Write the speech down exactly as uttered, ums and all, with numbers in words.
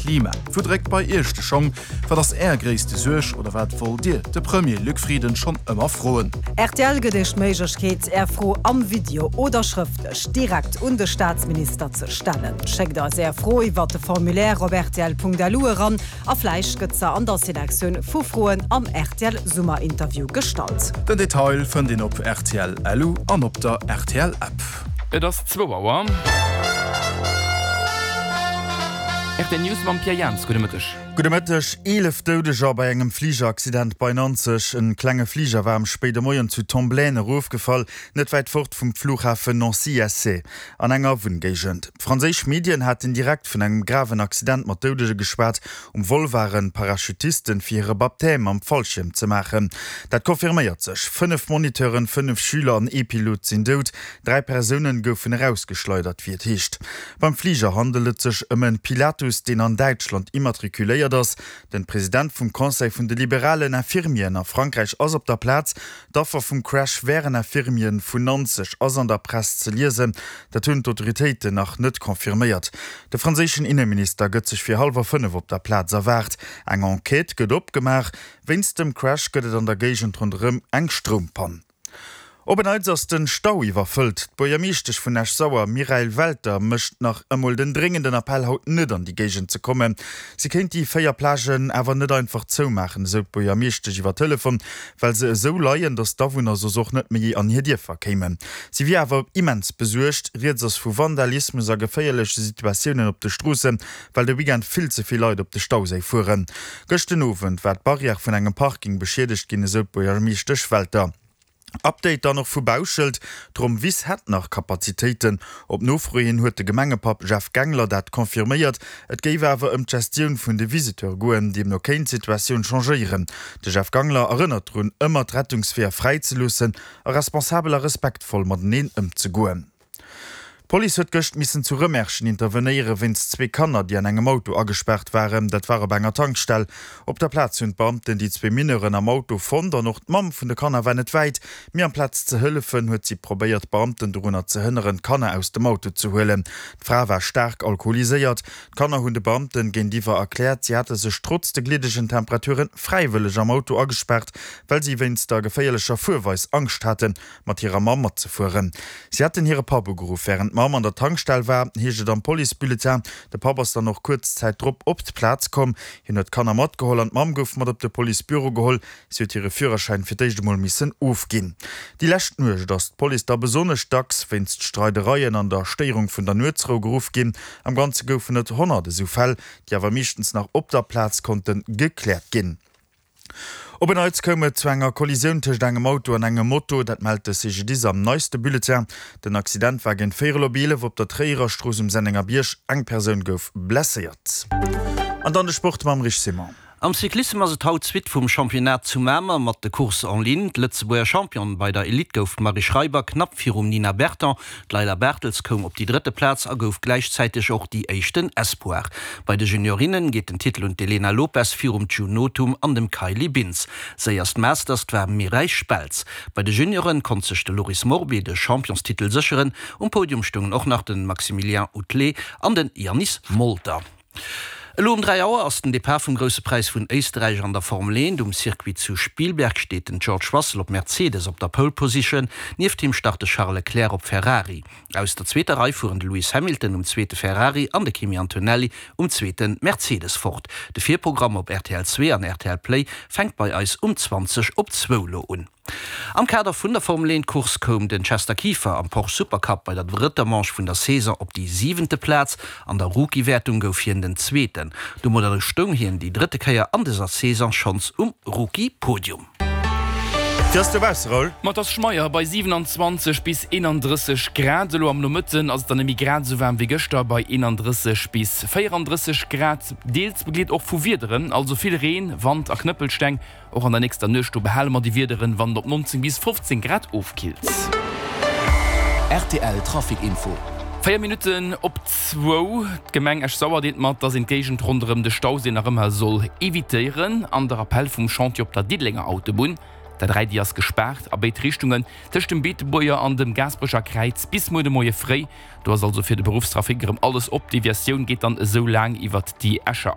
Klima. Wou dréckt bei Iech de Schong? Wat ass Är gréisste Suerg oder wat wollt Dir de Premier Luc Frieden schonn ëmmer froen? Rtl gëtt Iech d'Méiglechkeet, Är Fro am Video oder schrëftlech direkt un de Staatsminister ze stellen. Schéckt eis Är Fro iwwer de Formulaire op rtl.lu eran a vläicht gëtt se an der Selektioun vu Froen am rtl Summerinterview gestallt. Den Detail fënnt een op rtl.lu an op der rtl App. Et ass zwou Auer. Rtl News mam Pierre Jans. Gudde Mëtteg. Gudde Mëtteg. Eelef Doudeger bei engem Fligeraccident bei Nanzeg. En klenge Fliger war am spéide Moien zu Tomblaine erofgefall, net wäit fort vum Flughafen Nancy-Essey, an enger Wunngéigend. Franséisch Medien haten direkt vun engem graven Accident mat Doudege geschwat. Um Vol waren Parachutisten, fir hire Baptême mam Fallschierm ze maachen. Dat confirméiert sech. Fënnef Moniteuren, fënnef Schüler an ee Pilot sinn dout. Dräi Persounen goufen erausgeschleidert, wéi et heescht. Beim Fliger handelt et sech ëm en Pilatus, deen an Däitschland immatrikuléiert ass. Den President vum Conseil vun de liberalen Infirmieren a Frankräich ass op der Plaz. D'Affer vum Crash wären Infirmieren vun Nanzeg, ass an der Press ze liesen. Dat hunn d'Autoritéiten nach net confirméiert. De franséischen Inneminister gëtt sech fir hallwer fënnef op der Plaz erwaart. Eng Enquête gëtt opgemaach. Wéinst dem Crash gëtt et an der Géigend ronderëm eng Stroumpann. Op en Neits ass den Stau iwwerfëllt. D'Buergermeeschtesch vun Esch-Sauer, Mireille Welter, mécht nach emol den dréngenden Appell, haut net an déi Géigend ze kommen. Si kéint déi véier Plagen awer net einfach zoumaachen, esou d'Buergermeeschtesch iwwer Telefon, well se esou leien, datt d'Awunner soss och net méi an hir Dierfer kéimen. Si wier awer immens besuergt. Rieds ass vu Vandalismus a geféierleche Situatiounen op de Stroossen, well de Weekend vill ze vill Leit op de Stauséi fueren. Gëscht den Owend war d'Barrière vun engem Parking beschiedegt ginn, esou d'Buergermeeschtesch Welter. Update dann och vu Bauschelt, D'Romm Wiss hätt nach Kapazitéiten. Op Nofro hin huet de Gemengepapp Jeff Gangler dat confirméiert. Et géif awer ëm d'Gestioun vun de Visiteure goen, deemno kéint d'Situatioun changéieren. De Jeff Gangler erënnert drun, ëmmer d'Rettungsweeër fräi ze loossen a responsabel a respektvoll mateneen ëmzegoen. D'Police huet gëscht missen zu Rëmerschen intervenéiere wéinst zwee Kanner, déi an engem Auto agespaart waren. Dat war op enger Tankstell. Op der Plaz hunn d'Beamten déi zwee Mineuren am Auto fonnt an och d'Mamm vun de Kanner war net wäit. Mee amplaz ze hëllefen, huet si probéiert, d'Beamten dorunner ze hënneren, d'Kanner aus dem Auto ze huelen. D'Fra war staark alkoholiséiert. D'Kanner hunn de Beamten géintiwwer erkläert, si hätte sech trotz de gliddegen Temperature fräiwëlleg am Auto agespaart, well si wéinst der geféierlecher Fuerweis Angscht haten, mat hirer Mamm matzefueren. Si hätten hire Papp ugeruff, wärend d'Mamm an der Tankstell war, heescht et am Policebulletin. De Papp ass dann och kuerz Zäit drop op d'Plaz komm. Hien huet d'Kanner matgeholl an d'Mamm gouf mat op de Policebüro geholl. Si huet hire Führerschäin fir d'éischt emol missen ofginn. Déi lescht Nuecht ass d'Police da besonnesch dacks wéinst Streidereien an der Stéierung vun der Nuetsrou geruff ginn. Am Ganze goufen et honnert esou Fäll, déi awer meeschtens nach op der Plaz konnte gekläert ginn. Op en Neits koum et zu enger Kollisioun tëscht engem Auto an engem Moto, dat mellt de C G D I S am neiste Bulletin. Den Accident war géint véierel op eelef op der Tréierer Strooss um Sennengerbierg. Eng Persoun gouf blesséiert. An dann de Sport mam Rich Simon. Am Cyclissem ass et haut d'Suite vum Championnat zu Mamer mat de Courses en ligne. D'Lëtzebuerger Championne bei der Elite gouf d'Marie Schreiber knapp virum Nina Berton. D'Leila Bartels koum op déi drëtte Plaz a gouf gläichzäiteg och déi éischten Espoir. Bei de Juniorinne geet den Titel un d'Elena Lopes virum June Nothum an dem Kylie Bintz. Séierst Masters war Mireille Speltz. Bei de Junioren konnt sech de Loris Morbi de Championstitel sécheren. Um Podium stoungen och nach de Maximilien Outelet an den Janis Molter. Elo um dräi Auer ass den Depart vum Grousse Präis vun Éisterräich an der Formel eent. Um Circuit zu Spielberg steet den George Russell op Mercedes op der Pole Position, nieft him start de Charles Leclerc op Ferrari. Aus der zweeter Rei fueren de Lewis Hamilton um zweete Ferrari an de Kimi Antonelli um zweete Mercedes fort. De Virprogramm op R T L zwee an R T L Play fänkt bei eis um zwanzeg op zwou elo un. Am Kader vun der Formel eent Course koum den Chester Kieffer am Porsche Supercup bei der drëtter Manche vun der Saison op déi siwente Plaz. An der Rookie-Wäertung gouf hien den Zweeten. Domadder stoung hien déi drëtte Kéier an dëser Saison schonns um Rookie-Podium. Wéi ass dobausse, Raoul? Ma et ass schmeier bei siewenanzwanzeg bis eenandrësseg Grad. Elo am Nomëtten ass et dann net méi grad esou waarm wéi gëschter bei eenandrësseg bis véierandrësseg Grad. Deels begleet och vu Wiederen, also vill Reen, Wand a Knëppelsteng. Och an der nächster Nuecht do behale mer déi Wiederen, wann et op neunzéng bis fofzéng Grad ofkillt. R T L Trafic Info. Véier Minutten op zwou. D'Gemeng Esch-Sauer deelt mat, dass een d'Géigend ronderëm de Stauséi nach ëmmer soll evitéieren. An der Appell vum Chantier op der Diddelenger Autobunn, der dräi, déi ass gespaart a béid Richtungen tëscht dem Beetebuerger an dem Gaasperecher Kräiz bis muer de Moie fréi. Do ass also fir de Beruffstrafic erëm alles op. D'Deviatioun geet dann esou laang iwwert déi Escher.